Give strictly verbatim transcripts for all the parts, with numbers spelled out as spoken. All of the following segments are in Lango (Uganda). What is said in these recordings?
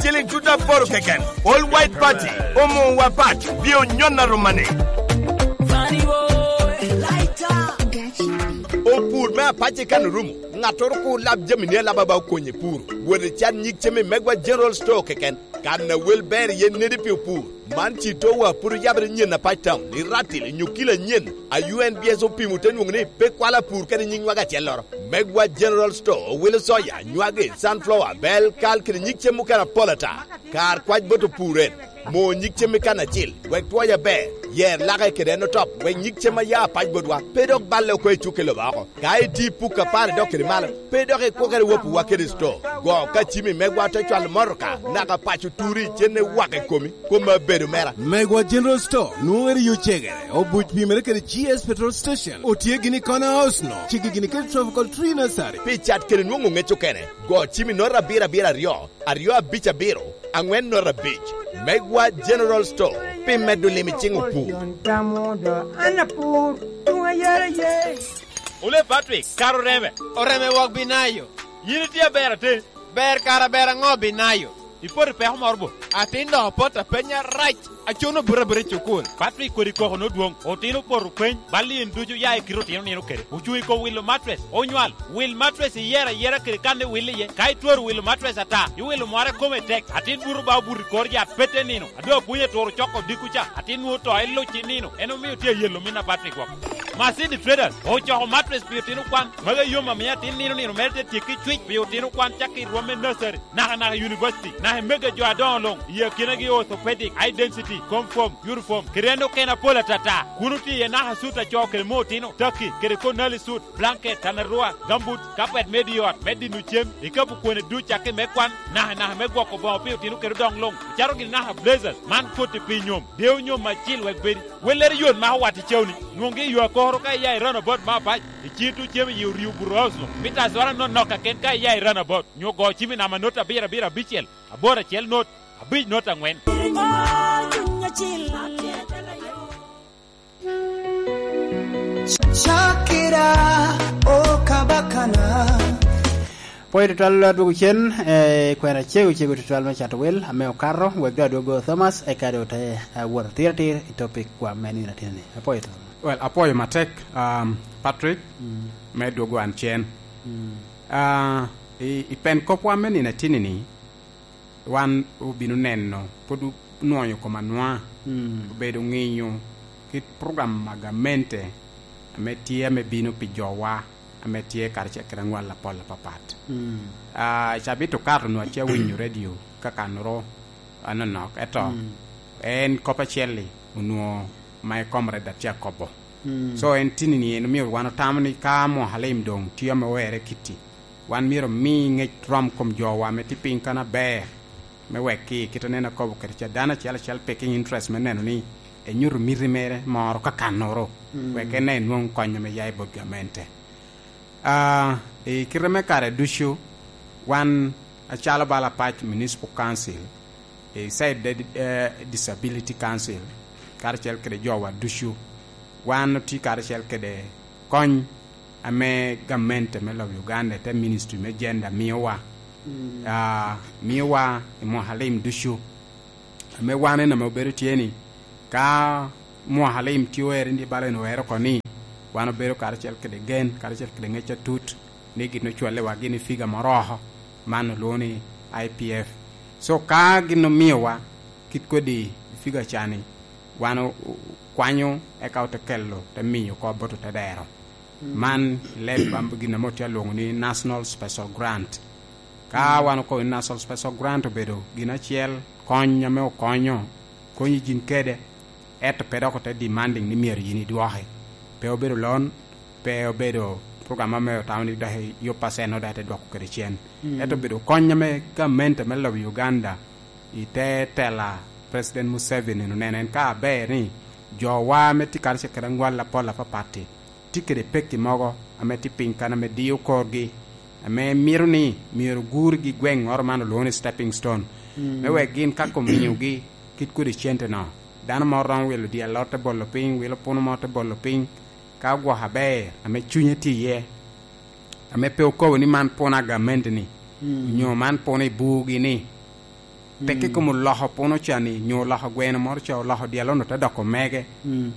Feeling tut aboro keken. All White Party, omo wa pat, bi onyon aromane. Opur me apac i kan orumo. Ŋattoro kur lab jamini alaba ba okonye pur. Wot i can nyig cem i Megwa General Store keken. Kan a wel ber iye nedi pi opur. Man ci towa pud oyabere nyen apac tam, i ratil, i nyukila nyen. A U N B S opimo te nwoŋo ni pe kwalo apur kede nyig nywag acelloro. Megwa General Store owilo soya, nywagi, sunflower, bel, kal kede nyig cem mukene apol ata. Kar kwac bot opur en. Mo nyig cem i kan acil, wek twoc aber. Yer lake kede en otop, wek nyig cem a ya apac botwa pe dok balle oko i cukke lobo oko. Ka iti puk apar idok kede malo, pe dok ikwokere wapuwa kede sto. Go ka cimi megwa te cwalo motoka, naka paco turi cenne wak i komi, kom abedo mera. Megwa General Store nwoŋo eri yo cegere, obuc pimere kede G S Petrol Station, otye gini i Corner House no, ceggi gini kede Tropical Tree Nursery. Pi cat kede nwoŋo ŋec okene, go cimi nota abiro abiro aryo, aryo abic abiro, aŋwen nota abic. Megwa General Store, pi medo lim i ciŋ opur. Ole Patrick, kara oreme. Oreme wok binayo. Yin itye aber atin. Ber kara ber aŋo binayo? Ipoto i peko moro bo? Atin dok opot apenya rac. Acuno buto abuta i cukul. Patrick kodi koko nodwoŋ. Otino opoto peny. Bal in ducu ya i kite otino nino kede. Ocuŋ i kom wilo matres. Onywal. Wil matres iyero ayera kede kan iwil iye. Ka itwero wilo matres ata, iwilo moro ikome tek. Atin buto ba obuto i kor yat pete nino. A doŋ apwony aturo coko odiko ca, atin nwoŋo to iluc i nino, en omio tye ayelo min apat i gwok. Masidi Traders ocoko matres pi otino kwan, magi yom amiyo atin nino nino mere te tyekki cwic pi otino kwan cakki i rwom me nursery, naka naka i university, naka i mege jo adoŋo luŋ, i akinagi orthopedic, high density, comfort, uniform, kede en okene apol atata. Kun otye iye naka sut a co kede mo otino, taki, kede konali sut, blanket, tanarua, gambut, kapet me di ot, me dino cem, ikapu kwone duc cakki me kwan, naka naka me gwoko boŋo pi otino kede odoŋ luŋ, ocato gini naka blazers, man koti pi nyom, deo nyom acil wek bedi. Wellere yot mako wat i cewni, nwoŋgi i yo akoro ka iya i roundabout me apac, i cito cem i orio buto house no, mita azwara nonok kaken ka iya i roundabout, nyo go cim i namba not abiro abiro abicel, aboro acel not, abic not aŋwen. Cakira, o Kabakana. Pwoyo tutwal adwogo cen, eh, kwena cego cego tutwal me cato wel, ame okato, wek do adwogo Thomas, eka do te, eh, wot atir atir i topic kwa me nino atinni. Apwoyo Thomas. Well, apwoyo matek, um, Patrick, mm, me dwogo an cen. Mm. Ah, i, i pen kopwa me nino atinni ni, wan obino neno, pwod onwoŋo kom anwoŋa, mm, obedo ŋinyo kit program ma gamente ame tye ame bino pi jowa ame tye karacel kede aŋwal apol apapat. Mm. Ah, cabit okato onwoŋo atye awinyo redio kakannoro anonok, eto, mm, en kop acel-li onwoŋo ma ikomre dok tye akobo. Mm. So, en tini-ni en omio wan otamo ni ka Muhalim doŋ tye ame owerre kitti, wan myero omi ŋec rom kom jowa ame tye piny kan aber, me wek ki kit aneno akobo kede ca dano acel acel picking interest me neno ni enyuto miti mere moro kakannoro, mm, wek en enwoŋ kony ame ya i bot gamente. Ah, i kite me kare ducu, wan acalo bala Apac Municipal Council, i side de, eh, Disability Council, karacel kede jowa ducu, wan otye karacel kede kony ame gamente me lobo Uganda, te Ministry me Gender miowa. Mm. Ah, miowa i mwaka lim ducu. Ame wan en ame obedo tye ni, ka mwaka lim tye oero, ni bala en oero oko ni, wan obedo karacel kede gen, karacel kede ŋec atut, ni gin ocwallewa gin i figa moro oko, man olwoŋo ni I P F. So, ka gin omiowa kit kodi i figa ca ni, wan o-, o-, kwanyo, eka ote kelo, te miyo oko bot otedero. Mm. Man i leb am-, gin ame otye alwoŋo ni National Special Grant. Ka, mm, wan okobo ni National Special Grant obedo gin acel, kony ame okonyo, konyo jin kede, ento pe dok ote demanding ni myero yin idwoki. Pe obedo loan, pe obedo program ame otamo ni dok i yo pacen dok ite dwoko kede cen. Mm. Ento obedo kony ame gamente me lobo Uganda i te tela President Museveni oneno en ka aber ni jowa ame tye karacel kede aŋwal apol apapatti tye kede pekki mogo ame tye piny kan ame diyo korgi, ame mito ni myero ogurgi i gweŋŋoro man olwoŋo ni stepping stone, mm, me wek gin ka omiyogi kit kodi cente-no, dano moro romo wilo dye alot te bolo piny, wilo puno mo te bolo piny, ka ogwoko aber, ame cunye tye iye, ame pe okobo ni man puno a gamente-ni, mm, onyo man puno i burgi-ni, Teke kom oloko puno ca ni, nyo oloko gweno moro ca, oloko dyelo-nu te doko mege,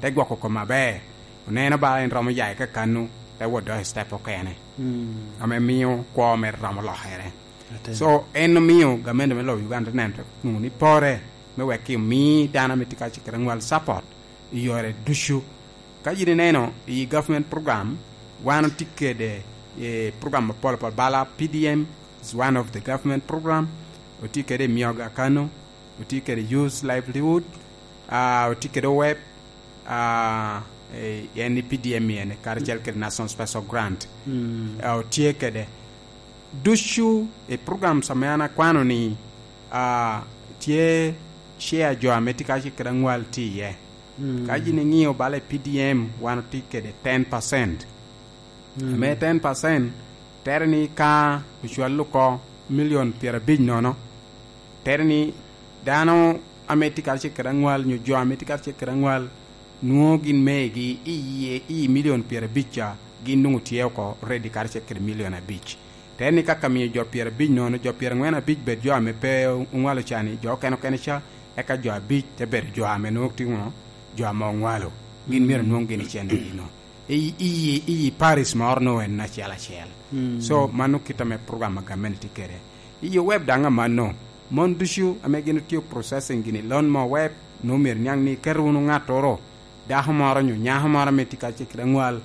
te gwoko kom aber. Oneno ba en romo ya i kakanu, te wot dok i step okene. Ame mio kwo mere romo lokere. So, en omio gamente me lobo Uganda te neno nwoŋo ni pore me wek ki omi dano ame tye ka cikere aŋwal support i yore ducu. Ka yin ineno i government program, wan otye kede, eh, program apol apol, bala P D M is one of the government program, otye kede i Myoga Kano, otye kede Youth Livelihood, ah, otye kede web, ah, eh, en i P D M ene, karacel kede National Special Grant. Ah, otye kede ducu i programs ame an akwano ni, ah, tye share jo ame tye ka cikere aŋwal tye iye. Ka yin iŋio bala i P D M, wan otye kede ten percent. Ame ten percent, tere ni ka ocwal oko milion pyerabic nono, tere ni dano ame tye karacel kede aŋwal, nyo jo ame tye karacel kede aŋwal, nwoŋo gin megi i iye, i milion pyerabic ca, gin nwoŋo tye oko ready karacel kede milion abic. Tere ni kaka mio jo pyerabic nono, jo pyeraŋwen abic bed jo ame pe oŋwalo ca ni, jo okene okene ca, eka jo abic te bedo jo ame nwoŋo tye ŋo? Jo ame oŋwalo. Gin myero nwoŋ gin i cen gino. I, i, i parish moro no en acel acel. So, mano kit ame program a gamente tye kede. I web daŋ amanno, mon ducu ame gin otio processing gini, loan mo web, no myero niaŋ ni iketo wunu ŋattoro, dako moro nyo nyako moro ame tye ka cikere aŋwal,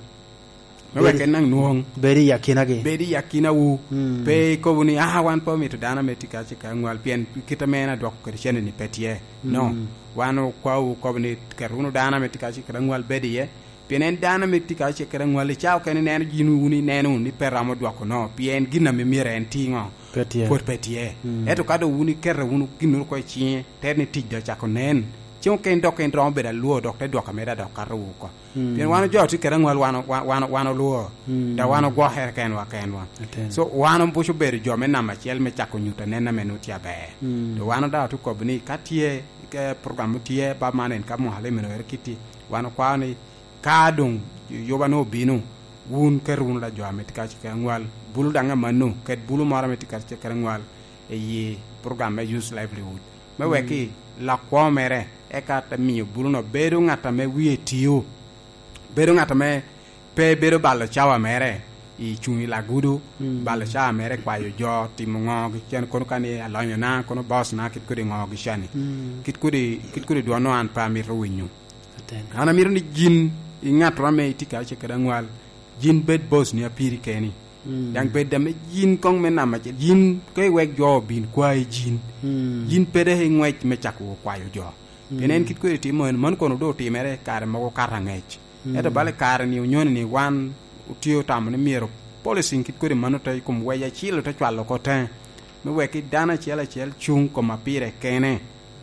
me wek en naŋ nwoŋ. Bedo i akinagi. Bedo i akinawu. Pe ikobo ni, "Ah, wan pe omito dano ame tye ka cikere aŋwal, pien kit ame en adwoko kede cene ni pe tye." No, wan okwawu okobo ni, "Ket wunu dano ame tye ka cikere aŋwal bedo iye." Pien en dano ame tye ka cikere aŋwal, i cawa okene ineno yin wun ineno wunu ni pe romo dwoko no, pien gin ame myero en ti ŋo? Pe tye. Pwod pe tye. Ento ka doŋ wun ikete wunu ginnoro oko i ciŋe, te ni tic doŋ ocako nen. Ceŋ okene dok en romo bedo alwor, dok te dwoko ameda dok kato wu oko. Pien wan jo tye kede aŋwal, wan, wan, wan, wan olwor. Da wan ogwokere kenwa kenwa. So, wan obuco bedo jo me namba acel me cako nyuto anen ame nwoŋo tye aber. Do wan daŋ otye kobo ni ka tye, ka program tye, ba man en ka mwaka lim eno ere kitti, wan okwao ni ka doŋ yuba-nu obino, wun ket wunu la jo ame tye ka cikere aŋwal, bulu daŋ amanno, ket bulu moro ame tye ka cikere aŋwal i yi program me Youth Livelihood. Me wek ki lok kwo mere, eka te miyo bulu-no bedo ŋat ame wie tio, bedo ŋat ame pe bedo balo cawa mere i cuŋ i lagudu, balo cawa mere kwayo jo, timo ŋo, gi cen kono ka ni alonyona, kono boss na, kit kodi ŋo gi cani. Kit kodi, kit kodi dwonno an pe amito winyo. An amito ni yin i ŋattoro ame itye ka cikere aŋwal, yin bed boss ni apiri keni. Daŋ bed ame yin koŋ me namba acel, yin ka iwek jo obin kwayi yin, yin pe dok iŋwec me cako kwayo jo. Pien en kit kodi timo en, man kono doŋ otimere kare mogo kato aŋec. Ento bala i kare ni onyoni ni wan otye otamo ni myero policing kit kodi mano te i kom wec acil ote cwalo oko teŋe, me wek dano acel acel cuŋ kom apire kene.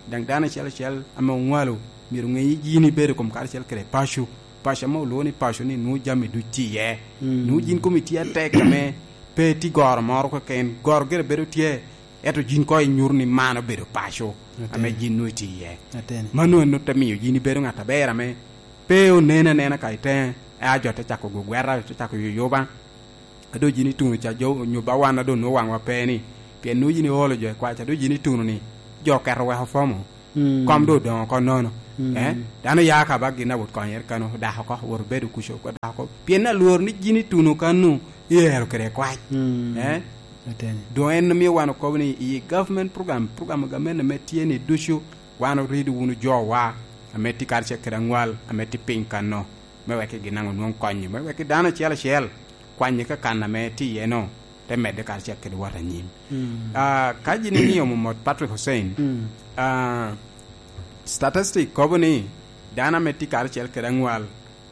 Daŋ dano acel acel ame oŋwalo myero ŋe ni yin ibedo kom karacel kede paco. Paco ame olwoŋo ni paco ni nwoŋo jami duc tye iye. Nwoŋo yin komi tye atek ame pe tye goro moro keken. Goro gire bedo tye, ento yin koŋ inyuto ni man obedo paco ame yin nwoŋo itye iye. Mano en ote miyo yin ibedo ŋat aber ame pe onen anena ka i teŋe, ea jo te cako gugwera, jo te cako yuyuba. A doŋ yin ituno ca, jo onyo ba wan a doŋ nwoŋo waŋwa pe ni, pien nwoŋo yin iolo jo i kwac, a doŋ yin ituno ni, jo oketo weko fomo. Kom doŋ odoŋo oko nono. Eh? Dano ya ka ba gin a wot konyere kano, dako oko, wot obedo kuco, dako oko. Pien alwor ni yin ituno kano, iero kede kwac. Eh? Doŋ en omio wan okobo ni i government program, program a gamente ame tye ni ducu, wan orido wunu jowa, ame tye karacel kede aŋwal, ame tye piny kano, me wek gin daŋ onwoŋ konyo, me wek dano acel acel kwanyo ka kan ame tye iye no, te medde karacel kede wot anyim. Ah, ka yin ing'iyo mot Patrick Hussein, ah, statistic kobo ni dano ame tye karacel kede aŋwal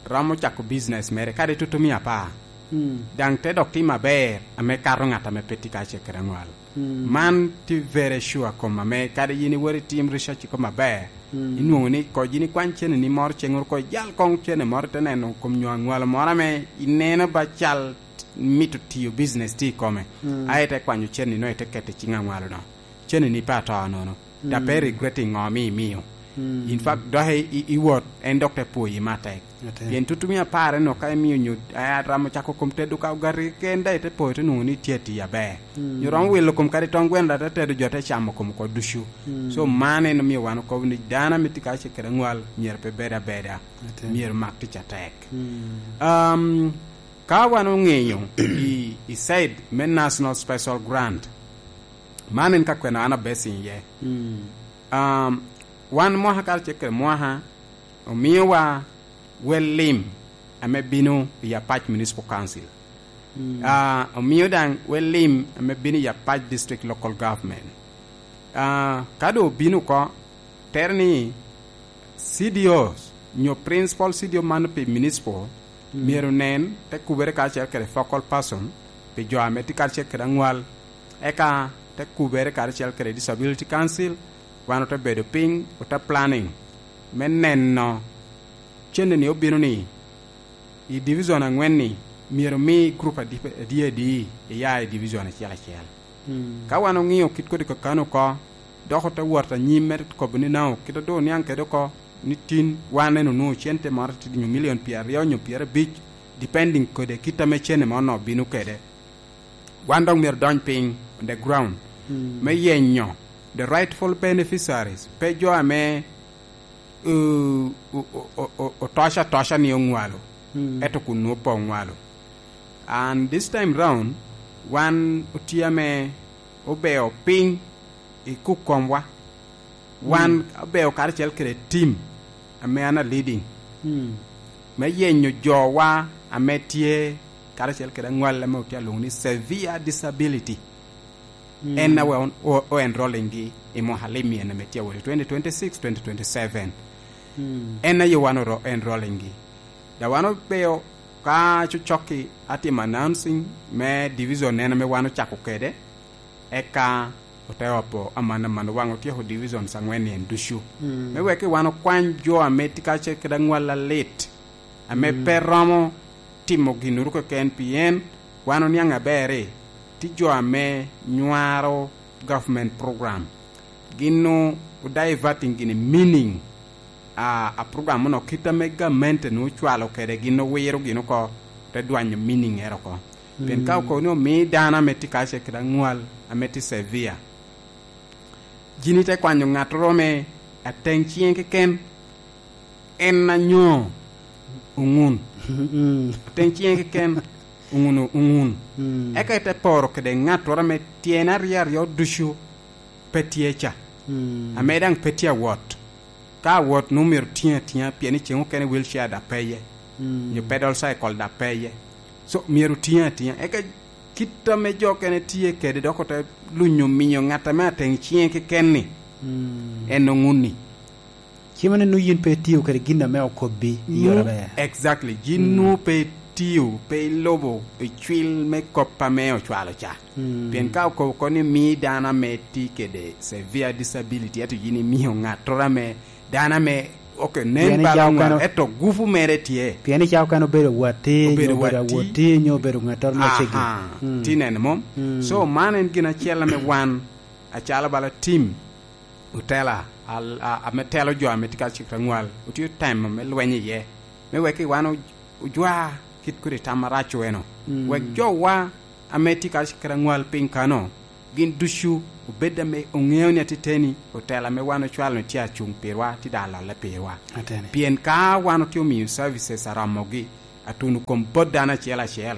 romo cako business mere, kadi tutumia apar. Daŋ te dok timo aber ame kato ŋat ame pe tye karacel kede aŋwal. Man tye very sure kom ame kadi yin iwot itim research i kom aber, inwoŋo ni koŋ yin ikwany cene ni moro ceŋ oko, ijal koŋ cene moro ite neno kom nyo aŋwalo moro ame ineno ba cal mito tiyo business tye i kome. Aye ite kwanyo cene ni no ite keto i ciŋ aŋwalo no. Cene ni pe ato nono. Da pe regretting ŋo ame imio. In fact, dok i, i, i wot, en dok te pwoyi me atek. Atek. Pien tutu mia apar eno ka imio nyo, eh, atamo cako kom tedo ka ogati ken, da ite poyo te nwoŋo ni tye ati aber. Nyo romo wilo kom kadi tong gweno da te tedo jo te camo kom oko ducu. So, man en omio wan okobo ni dano ame tye ka ce kede aŋwal myero pe bed abeda. Atek. Myero mak tic atek. Um, ka wan oŋeyo i, i side me National Special Grant, man en ka kwena an abesing iye. Um, wan mwaka karacel kede mwaka omiowa wel lim ame bino i Apac Municipal Council. Ah, omio daŋ wel lim ame bino i Apac District Local Government. Ah, ka doŋ obino oko, tere ni C D Os nyo principal C D O man pi municipal myero nen te kubere karacel kede focal person pi jo ame tye karacel kede aŋwal, eka te kubere karacel kede Disability Council, wan ote bedo piny, ote planning me neno cene ni obino ni i division aŋwen-ni myero omi group adi, adi, adi iya i division acel acel. Ka wan oŋio kit kodi kakano oko, dok ote wot anyim me kobo ni nao, kit a doŋ oniaŋ kede oko, ni tin wan en onwoŋo cente moro tidi nyo milion pyeraryo nyo pyerabic, depending kede kit ame cene mo onwoŋo bino kede. Wan dok myero dony piny on the ground me yenyo the rightful beneficiaries, pe jo ame, uh, o-, o-, o-, o-, otoco atoca ni oŋwalo, ento kun nwoŋo pe oŋwalo. And this time round, wan otye ame obeo piny i kuk komwa. Wan obeo karacel kede tim ame an a leading me yenyo jowa ame tye karacel kede aŋwal ame otye alwoŋo ni severe disability. En awe on-, o, o enrolling gi i mwaka lim en ame tye awot i twenty twenty-six, twenty twenty-seven. En aye wan oro enrolling gi. Da wan obeo ka cocokki atimo announcing me division en ame wan ocako kede, eka ote opo aman aman waŋ otyeko divisions aŋwen en ducu. Me wek wan okwany jo ame tye ka ce kede aŋwal alit, ame pe romo timo ginnoro keken, pien wan oniaŋ aber ni tye jo ame nywaro government program. Gin o-, o diverting gini meaning a, a program no, kit ame gamente nwoŋo ocwalo kede, gin owiro gin oko, te dwanyo meaning ero oko. Pien ka okobo ni omi dano ame tye ka ce kede aŋwal ame tye severe, jini te kwanyo ŋattoro me ateŋ ciŋe keken, en anyo oŋun. Ateŋ ciŋe keken oŋun, oŋun. Eka ite poro kede ŋattoro ame tyene aryo aryo ducu pe tye ca, ame daŋ pe tye awot. Ka awot nwoŋo myero tiŋ atiŋa, pien i ceŋ okene wheelchair da peye, nyo pedal cycle da peye. So, myero tiŋ atiŋa. Eka kit ame jo okene tye kede dok ote lunyo miyo ŋat ame ateŋ ciŋe keken-ni, en oŋun-ni. Cimone nwoŋo yin pe itio kede gin ame okobbi i yore aber. Exactly. Gin nwoŋo pe itio, pe ilubo i cwil me kop ame ocwalo ca. Pien ka okobo oko ni mi dano ame tye kede severe disability, ento yin imio ŋattoro ame, dano ame, ok, nen bala ŋat, ento gupu mere tye. Pien i ca okene obedo watti, nyo obedo awoti, nyo obedo ŋattoro me ceggi. Aha. Ti neno mom? So, man en gin acel ame wan, acalo bala tim, otela, al-, a-, ame telo jo ame tye ka cik aŋwal, otye temo me lweny iye, me wek i wan o-, ojwa kit kodi tam arac eno. Wek jowa ame tye ka cik aŋwal piny kano, gin ducu obed ame oŋeo ni ateteni otela ame wan ocwalo ni tye acuŋ pirwa, tye daŋ alolle pirwa. Ateni. Pien ka wan otye omiyo services aromogi, atuno kom bot dano acel acel,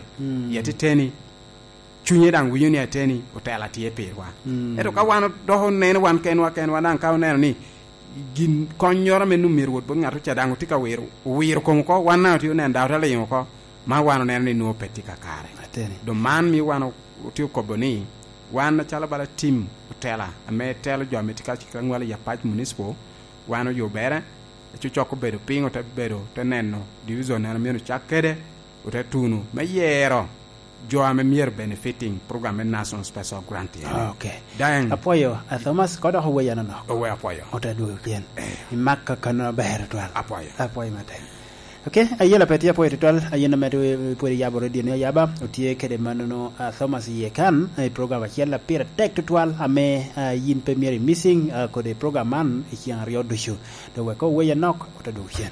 i ateteni, cunye daŋ winyo ni ateni otela tye pirwa. Ento ka wan dok oneno wan kenwa kenwa daŋ, ka oneno ni gin konnyoro ame nwoŋo myero wot bot ŋat oca daŋ otye ka wiro, owiro kom oko, wan daŋ otye oneno daŋ ote liŋo oko, ma wan oneno ni nwoŋo pe tye kakare. Ateni. Doŋ man mio wan o-, otye okobo ni wan acalo bala tim otela ame telo jo ame tye ka cik aŋwal i Apac Municipal, wan oyubere, cocok obedo piny, ote bedo, te neno division en ame ocak kede, ote tuno me yero jo ame myero benefiting program me National Special Grant en. Ok. Daŋ. Apwoyo, a Thomas, ko dok oweya nonok. Owe apwoyo. Ote dwogo pien. Eh. Imak kakano aber twal. Apwoyo. Apwoyo matek. Ok, ayela pe tye apwoyo tutwal, ayen ame tye pwod iyabo radio ni ayaba, otye kede mannono, ah, Thomas Yekan, i program acel a pire tek tutwal, ame, ah, yin pe myero i missing, ah, kodi program man i ceng aryo ducu. Dok wek oweye nok, ote dwogo cen.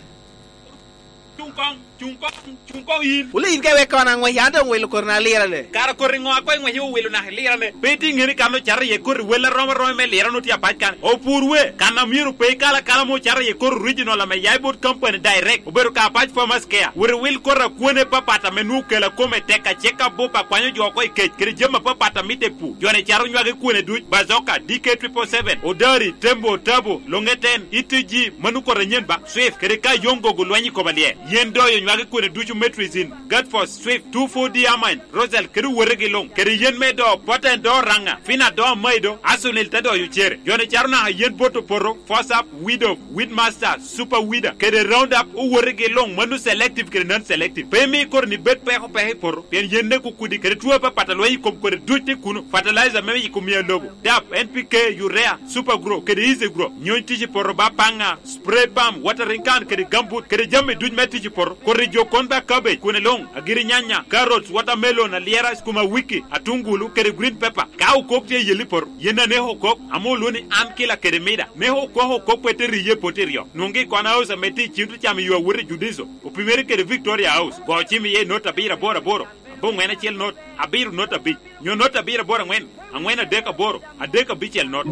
Cung kong, cung kong, cung kong yin. Wule yin ka iwek kono aŋwec, an doŋ wilo koti na lirane. Kara koti ŋo a koŋ iŋwec iwilo naka ilirane? Pe itye ŋeni kan ocato iye koti wel arom aroma me lirane otye apac kan. Opur we, kan a myero pe ikal akala mo ocato iye koti original ame ya i bot company direct. Obedo ka apac Farmers Care. Wot iwil koti a kwone papat ame nwoŋo kela kome tek, acek abup akwanyo jo oko i kec, kede jami apapat a mitte i pur. Jo-ni cato nywagi kwone duc, Bazoka, D K triple seven, Odari, Tembo, Tabo, Longeten, E T G, mano koti anyen ba, Swift, kede ka yoŋ gogo lweny i koma lye. Yen doyo nywagi kwone ducu, Metrizin, Gatfos, Swift, two four D Amine, Rosal, kede owotegi luŋ, kede yen me do, Poten do Raŋa, Fina do Maido, Asunil te doyo cere. Jo-ni cato naka yen bot opoto, Fosap, Widow, Weedmaster, Super Weeder, kede Roundup, owotegi luŋ, mano selective kede non-selective. Pe imi koti-ni bed peko peko i poto, pien yen neko kudi kede two apapat a lweny i kom kodi duc tye kuno, fertilizer me yiko mia lobo, dap, N P K, urea, Super Grow, kede Easy Grow. Nyony tic i poto ba paŋa, spray pump, watering can, kede gambut, kede jami duc me tic i poto. Koti jo kon ba cabbage, kwone luŋ, agiri nyanya, carrots, watermelon, alyera, sukuma wiki, atungulu, kede green pepper. Ka okok tye i yelli poto, yen aneko okok, ame olwoŋo ni an kila kede mida. Neko okok okok pe te riye poto iryo. Nwoŋgi i kona house ame tye i cim te camo yo awot i Judiso. Opimere kede Victoria House. Go cim iye i not abiro aboro aboro, aboŋwen acel not, abiro not abic, nyo not abiro aboro aŋwen, aŋwen adek aboro, adek abicel not.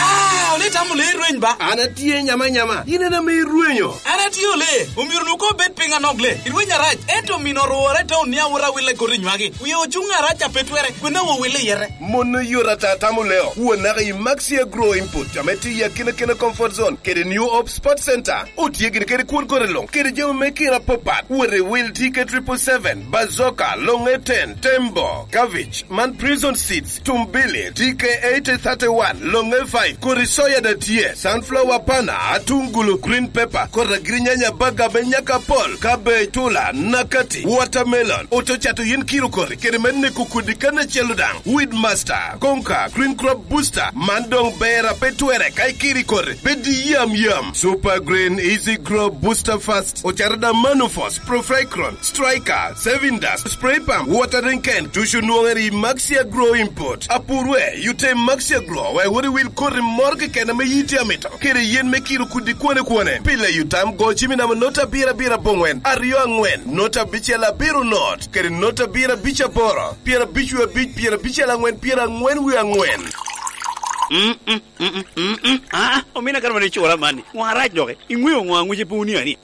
Ah, ole itamo lee rweny ba? An atye nyama nyama, in en ame irwenyo. An atye ole, omyero nu ko bed piny anok le. Irweny arac, ento omino orwora i taun ni awot awille koti nywagi. Wie ocuŋ arac a pe twere, kwena wo wille yete. Mon oyot ata tamo leo, wuon naka i Maxia Grow Input, ame tye i akina kina comfort zone, kede New Hope Sports Center. Otye gini kede kwon kore luŋ, kede jami me kina apapat. Wot i wil T K triple seven, Bazoka, Longeten, Tembo, Cabbage, man Prison Seeds, Tumbili, T K eighty thirty-one, Longe five, kodi soya da tye, sunflower pana, atungulu, green pepper, kodi agirinyanya, baga me nyaka pol, cabbage, tula, nakati, watermelon, oto cato yin kiro kodi, kede me neko kudi kan acel daŋ, Weedmaster, Konka, Green Crop Booster, man doŋ ber a pe twere ka ikiri kodi, bed yam yam. Super Green, Easy Grow, Booster Fast, ocato da Manufos, Profecron, Striker, Saving Dust, Spray Pump, Watering Can, ducu nwoŋere i Maxia Grow Import. Apur we, yute i Maxia Grow, wek wot i wil koti moro keken ame yiti amito, kede yen me kiro kudi kwone kwone. Pile yutam go cimi namba not abiro abiro aboŋwen, aryo aŋwen, not abicel abiro not, kede not abiro abic aboro, pyera abic wie abic, pyera abicel aŋwen, pyera aŋwen wie aŋwen. Mm, mm, mm, mm, mm, mm. Ah, omina kare mane icura mani. Ŋo arac doki? Iŋweo ŋo aŋwice pe wunia ni?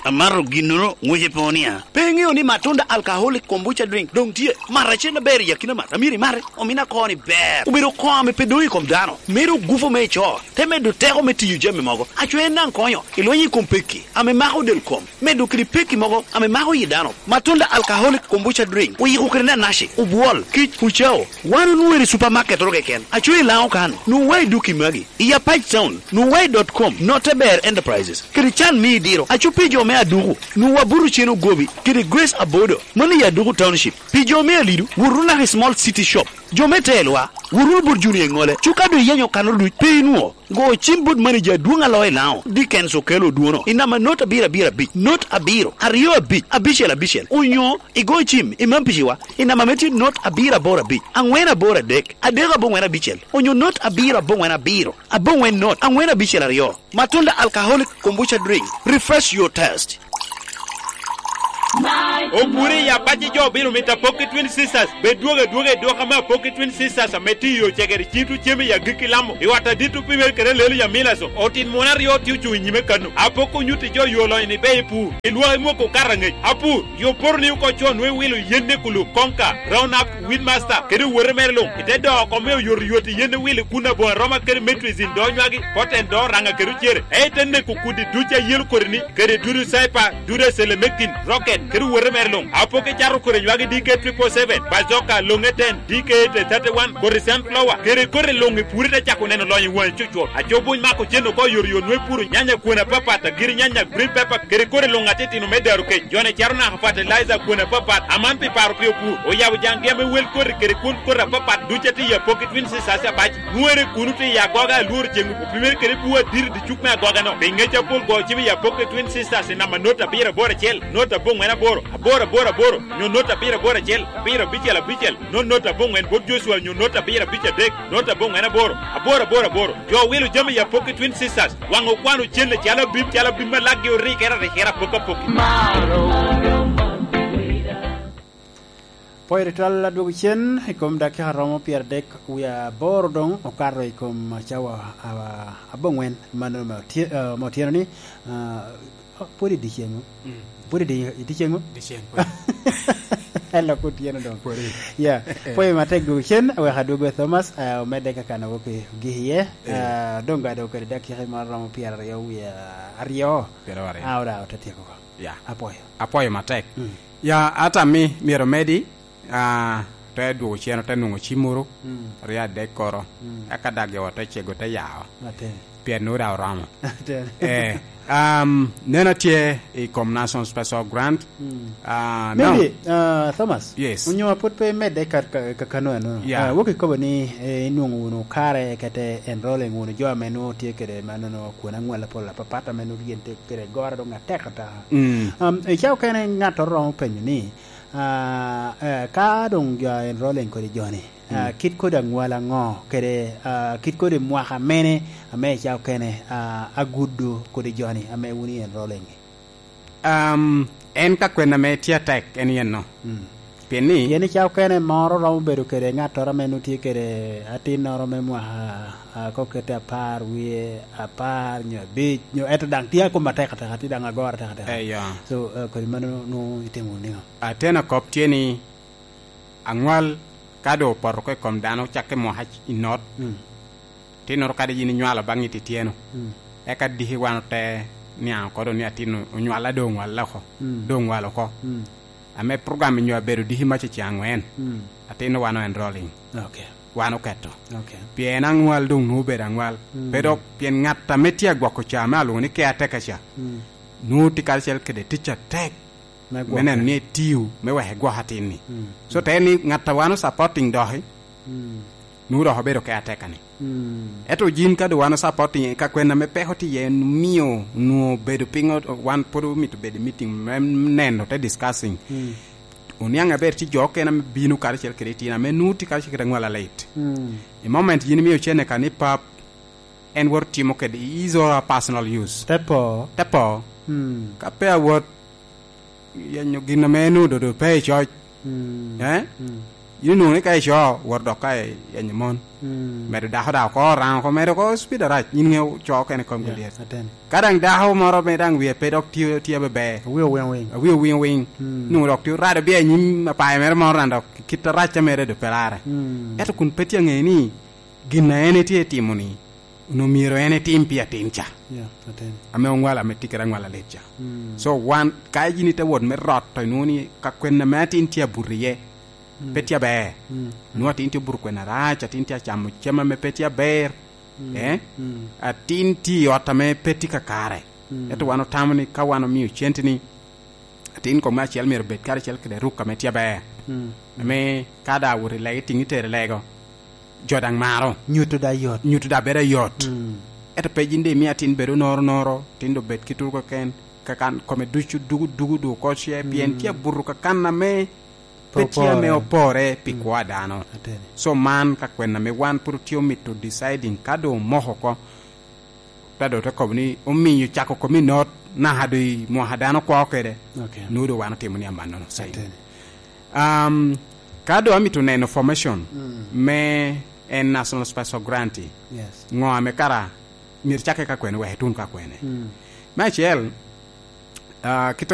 Amato ginnono, ŋwice pe wunia. Pe iŋeo ni Matunda Alcoholic Kombucha Drink doŋ tye? Mat acel aber i akina mat. Amyero imate. Omina koni ber. Obedo koŋ ame pe doŋ i kom dano. Medo gufu me ico. Te medo teko me tiyo jami mogo. Aco en daŋ konyo. Ilwenyo i kom pekki ame mako del kom. Medo kede pekki mogo ame mako yi dano. Matunda Alcoholic Kombucha Drink. Oyiko kede nanaci, obwol, kic, ucao. Wan onwoŋo i supermarket oro keken. Aco i Laŋo kan. Nwoŋo wa i duki magi. I Apac Town, nwoŋo wa i dot com, Note Ber Enterprises, kede can me idiro. Aco pi jo me Aduku, nwoŋo wa buto cen ogobi, kede Grace Abodo, mano i Aduku Township. Pi jo me Alidu, wot wunu naka i Small City Shop. Jo me Telwa, wot wunu bot Junior i ŋole. Cuka doŋ iyenyo kano duc, pe inwoŋo. Go cim bot manager adwoŋ a loo i Laŋo, Dickens Okello Odwono, i namba not abiro abiro abic, not abiro, aryo abic, abicel abicel, onyo igo cim i Mampiciwa, i namba me tye not abiro aboro abic, aŋwen aboro adek, adek aboŋwen abicel, onyo not abiro aboŋwen abiro, aboŋwen not, aŋwen abicel aryo. Matunda Alcoholic Kombucha Drink, refresh your taste. Opure i Apac, jo bino mito Apoki Twin Sisters. Bed dwogo adwoga i dwoko ame Apoki Twin Sisters ame tye i yo cegere cito cem i agikki Lamo. I ot adit opimere kede Lelu Yamilaso, otin mon aryo tye ocuŋ i nyime kano. Apoko onyutti jo yo lonyo ni be i pur. I lwak i mwoko okato aŋec. Apur, yo poto ni oko con nwe wilo yen ne kulub, konka, Roundup, Weedmaster, kede owote mere luŋ. Ite doo oko me oyotoyot i yen ne wilo kun aboŋo aroma kede Metrizin do nywagi, poten do raŋa kede ocere. Ei te neko kudi duc a yelo kodi ni, kede dudu Cyper, dudu Selemectin, Rocket, kede owote Ber luŋ, apoke cato kore nywagi D K triple seven, bazoka, loŋe ten, D K eight thirty-one, kore sunflower, kede kore luŋ i puri te cako neno lonyo i waŋi cucwot. Aco buny mako cen oko yot yot nwe puro nyanya kwene apapat, agiri nyanya, green pepper, kede kore luŋ atitino me daro kec. Jone caro naka fertilizer kwene apapat, aman pi paro pi opur. Oyabo jaŋgi ame wel koti kede kwon koti apapat duc atye i apoke Twin Sisters abac. Nwere kuno tye i agoga alworo ceŋ opimere kede bur adiri dicuk me agoga-no. Pi ŋec apol go cim i apoke Twin Sisters i namba not abiro aboro acel, not aboŋwen aboro, aboro aboro aboro, nyo not abiro aboro acel, abiro abicel abicel, not not aboŋwen bot Joshua nyo not abiro abic adek, not aboŋwen aboro, aboro aboro aboro. Jo wilo jami i apoke Twin Sisters, waŋ okwano cen calo abim, calo abim ma laggi orikere arikere apoke apoke. Pwoyo tutwal adwogo cen i kom dakika romo pyeradek wie aboro doŋ okato i kom cawa, ah, aboŋwen mano me otye-, ah, me otyeno ni, ah, oh, pwod i dyeceŋ o? Mm. Pwod i dye-, i dyeceŋ o? Dyeceŋ pwod. En lok otyeno doŋ. Pwod i. Ya, pwoyo matek dwogo cen, awek adwogo Thomas, ah, omedde ka kan awok i gik iye. Eh. Ah, doŋ ga dok kede dakika moro romo pyeraryo wie aryo. Pyeraryo. Ah, oda, ote tyeko oko. Ya. Apwoyo. Apwoyo matek. Mm. Ya, ata mi myero omedi, ah, te dwogo cen, ote nwoŋo cimmoro, mm, aryo adek koro. Mm. Eka dagge ote cego, te yao. Aten. Pien nwoŋo daŋ oromo. Aten. Eh, um, neno tye i kom National Special Grant. Mm. Ah, maybe, now, ah, Thomas, yes, onyo pwod pe imedde ka, ka, ka kano eno. Yeah. Ah, wok ikobo ni, eh, inwoŋo wunu kare kete enrolling wunu jo ame nwoŋo tye kede manono kwon aŋwal apol apapat ame nwoŋo gin tye kede goro doŋ atek ata. Mm. Um, i cawa okene ŋattoro romo penyo ni, ah, eh, ka doŋ jo enrolling kodi joni, ah, mm, kit kodi aŋwal aŋo kede, ah, kit kodi mwaka mene ame i cawa okene, ah, agudo kodi joni ame wun i enrolling? Um, en ka kwena ame tye atek, en yen no. Mm. Pien ni pien i cawa okene moro romo bedo kede ŋattoro ame nwoŋo tye kede atinnoro me mwaka, ah, kok kete apar wie, apar nyo abic, nyo, ento daŋ tye akom atek atek, tye daŋ agoro atek atek. Eh, ya. So, eh, kodi mano nwoŋo itimo niŋo? Ateno kop tye ni, aŋwal ka doŋ opoto oko i kom dano, cakke mwaka i not, mm, atinnoro kadi yin inywalo baŋ itityeno. Mm. Eka diki wan ote niaŋ oko doŋ ni atin onywalla doŋ onywalla oko. Mm. Doŋ onywalo oko. Mm. Ame program nyo abedo diki mac i ceng aŋwen. Mm. Atin wan o enrolling. Okay. Wan oketo. Okay. Pien aŋwal doŋ nwoŋo obedo aŋwal. Mm. Pe dok pien ŋat ame tye agwoko ca me alwoŋo ni caretaker ca, mm, nwoŋo tye karacel kede tic atek me gwoko, me neno ni etio me wek egwok atin-ni. Mm. So, te ni ŋat a wan o supporting doki, mm, nwoŋo dok obedo caretaker-ni. Mm. Ento yin ka doŋ wan o supporting, ka kwena ame peko tye iye, mio nwoŋo bedo piny, o-, wan pwod omito bedo i meeting me neno te discussing. Mm. Oniaŋ aber tye jo okene ame bino karacel kede itino ame nwoŋo tye karacel kede aŋwal alit. Mm. I moment yin imio cene ka ni pap, en wot timo kede is a personal use. Te po. Te po. Mm. Ka pe awot yenyo gin ame en ododo pe i coc. Mm. Eh? Mm. Yin onwoŋo ni ka ico, wot dok ka iyenyo mon. Mm. Medo dako daŋ oko, raŋo oko, medo oko speed arac. Yin ŋeo co okene kom, yeah, giliet. Ateni. Ka daŋ dako moro ame daŋ wie pe dok tye, tye bebe. Wie owiŋ owiŋ. Wie owiŋ owiŋ. Mm. Nwoŋo dok tye orado bia i nyim apayo mere moro daŋ dok kit arac a mere doŋ pe rare. Mm. Ento kun pe tye aŋeyo ni gin a en etye timo-ni, onwoŋo myero en etim pi atin ca. Yeah, atin. Ame oŋwalo, ame tye kede aŋwal alit ca. Mm. So, wan, ka yin ite wot me rot, to inwoŋo ni ka kwena ame atin tye abuto iye, mm, pe tye aber. Mm. Nwoŋo atin tye obuto kwena arac, atin tye acamo cem ame pe tye aber. Mm. Eh? Mm. Atin tye i ot ame pe tye kakare. Mm. Ento wan otamo ni ka wan omio cente-ni, atin kom me acel myero bed karacel kede ruk ame tye aber. Mm. Ame ka daŋ awot i lego, itiŋ itere lego, jo daŋ maro. Nyuto daŋ yot. Nyuto daŋ bedo ayot. Mm. Ento pe yin daŋ imio atin bedo noro noro, atin doŋ bed kit ruk keken, kakan kome ducu dugu dugu du oko ce, pien, mm, tye abuto kakan ame pe tye ame opore pi, mm, kwo a dano. Ateni. So man ka kwena ame wan pwod otye omito deciding ka doŋ omoko oko, ta doŋ te kobo ni omiyo cako komi not naka doŋ i mwaka dano kwo kede. Okay. Nwoŋo doŋ wan otimo ni amannono sayi. Ateni. Um, ka doŋ amito neno formation, mm, me en National Special Grant, yes, ŋo ame kara myero cakke ka kwene wek etun ka kwene? Mm. Me acel, ah, kit